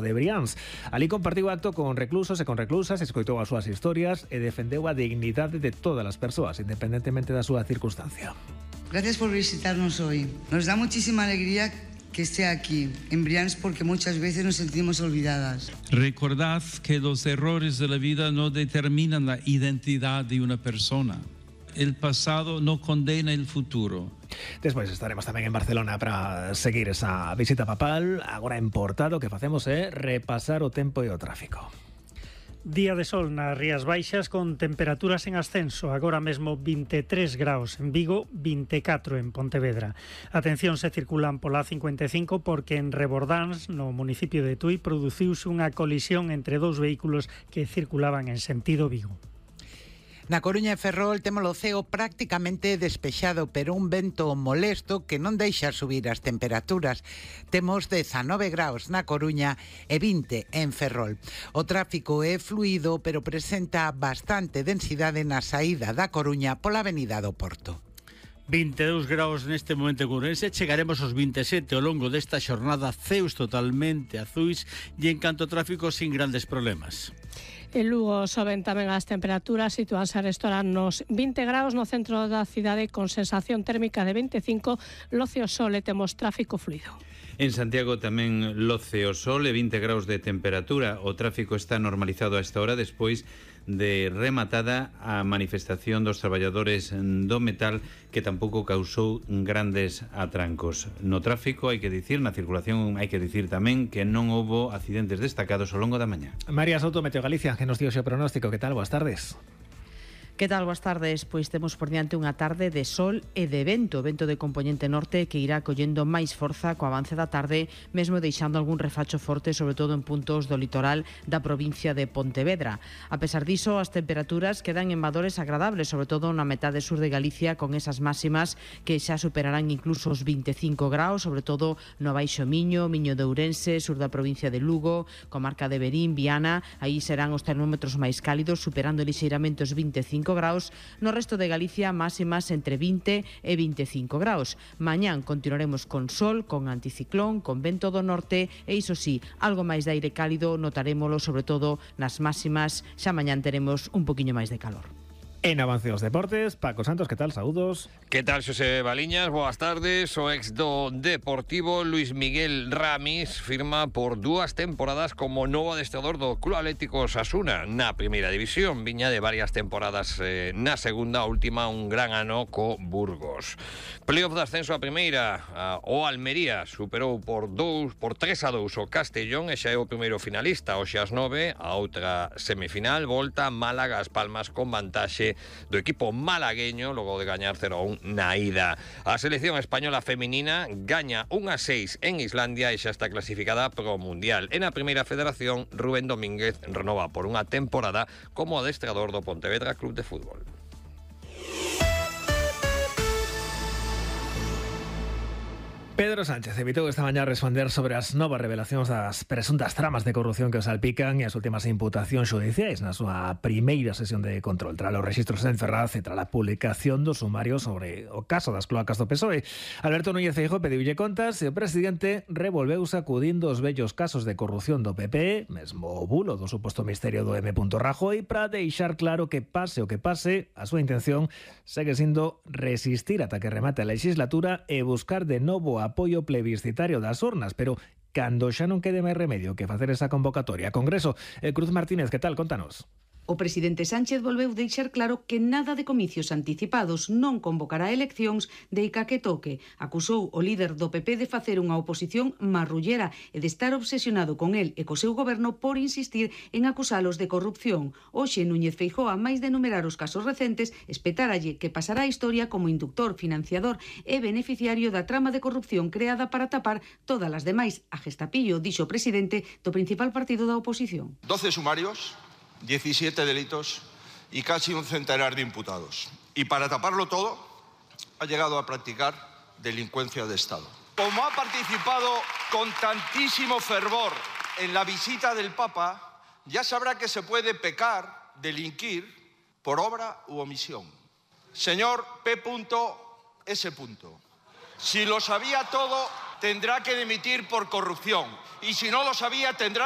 no de Brians. Ali compartiu acto con reclusos e con reclusas, escoitou as súas historias e defendeu a dignidade de todas as persoas, independentemente da súa circunstancia. Gracias por visitarnos hoy. Nos da muchísima alegría que esté aquí, en Brians, porque muchas veces nos sentimos olvidadas. Recordad que los errores de la vida no determinan la identidad de una persona. El pasado no condena el futuro. Despois estaremos tamén en Barcelona para seguir esa visita papal. Agora en Portado, que facemos é repasar o tempo e o tráfico. Día de sol nas Rías Baixas con temperaturas en ascenso, agora mesmo 23 graus en Vigo, 24 en Pontevedra. Atención, se circulan pola A55 porque en Rebordáns, no municipio de Tui, produciuse unha colisión entre dous vehículos que circulaban en sentido Vigo. Na Coruña e Ferrol temos o ceo prácticamente despexado, pero un vento molesto que non deixa subir as temperaturas. Temos 19 graus na Coruña e 20 en Ferrol. O tráfico é fluido, pero presenta bastante densidade na saída da Coruña pola avenida do Porto. 22 graus neste momento en Ourense, chegaremos aos 27 ao longo desta xornada, ceus totalmente azuis e en canto ao tráfico sin grandes problemas. En Lugo soben tamén as temperaturas, sitúanse a restaurar nos 20 graus no centro da cidade con sensación térmica de 25, loce o sol e temos tráfico fluido. En Santiago tamén loce o sol e 20 graus de temperatura. O tráfico está normalizado a esta hora despois de rematada a manifestación dos traballadores do metal, que tampouco causou grandes atrancos. No tráfico, hai que dicir, na circulación hai que dicir tamén que non houbo accidentes destacados ao longo da mañá. María Souto, Meteo Galicia, que nos dio o pronóstico. Que tal? Boas tardes. Que tal? Boas tardes. Pois temos por diante unha tarde de sol e de vento de componente norte que irá collendo máis forza co avance da tarde, mesmo deixando algún refacho forte, sobre todo en puntos do litoral da provincia de Pontevedra. A pesar diso, as temperaturas quedan en valores agradables, sobre todo na metade sur de Galicia, con esas máximas que xa superarán incluso os 25 graus, sobre todo no Baixo Miño, Miño de Ourense, sur da provincia de Lugo, comarca de Verín, Viana. Aí serán os termómetros máis cálidos, superando lixeiramente os 25 graus. No resto de Galicia, máximas entre 20 e 25 graus. Mañán continuaremos con sol, con anticiclón, con vento do norte e, iso sí, algo máis de aire cálido notarémolo sobre todo nas máximas. Xa mañán teremos un poquinho máis de calor. En avance dos deportes, Paco Santos, que tal? Saúdos. Que tal, Xosé Baliñas? Boas tardes. O ex do Deportivo, Luis Miguel Ramis, firma por 2 temporadas como novo adestrador do Club Atlético Osasuna na primeira división. Viña de varias temporadas na segunda, última un gran ano co Burgos. Playoff de ascenso a primeira, o Almería superou por 3-2 o Castellón e xa é o primeiro finalista. Hoxe ás 9, a outra semifinal, volta Málaga As Palmas con vantaxe do equipo malagueño logo de gañar 0-1 na ida. A selección española feminina gaña 1-6 en Islandia e xa está clasificada pro Mundial. En a primeira federación, Rubén Domínguez renova por unha temporada como adestrador do Pontevedra Club de Fútbol. Pedro Sánchez evitou esta mañá responder sobre as novas revelacións das presuntas tramas de corrupción que o salpican e as últimas imputacións xudiciais na súa primeira sesión de control tras os rexistros en Ferraz e tras a publicación do sumario sobre o caso das cloacas do PSOE. Alberto Núñez Feijóo pediulle contas e o presidente revolveu sacudindo os vellos casos de corrupción do PP, mesmo o bulo do suposto misterio do M. Rajoy, para deixar claro que pase o que pase, a súa intención segue sendo resistir ata que remate a legislatura e buscar de novo a apoio plebiscitario das urnas, pero cando xa non quede máis remedio que facer esa convocatoria. Congreso, Cruz Martínez, que tal? Contanos. O presidente Sánchez volveu deixar claro que nada de comicios anticipados, non convocará eleccións deica que toque. Acusou o líder do PP de facer unha oposición marrullera e de estar obsesionado con el e co seu goberno por insistir en acusalos de corrupción. Hoxe Núñez Feijóo, a máis de enumerar os casos recentes, espetáralle que pasará a historia como inductor, financiador e beneficiario da trama de corrupción creada para tapar todas as demais. A gestapillo, dixo o presidente do principal partido da oposición. 12 sumarios, 17 delitos y casi un centenar de imputados. Y para taparlo todo, ha llegado a practicar delincuencia de Estado. Como ha participado con tantísimo fervor en la visita del Papa, ya sabrá que se puede pecar, delinquir, por obra u omisión. Señor P.S. Si lo sabía todo, tendrá que dimitir por corrupción. Y si no lo sabía, tendrá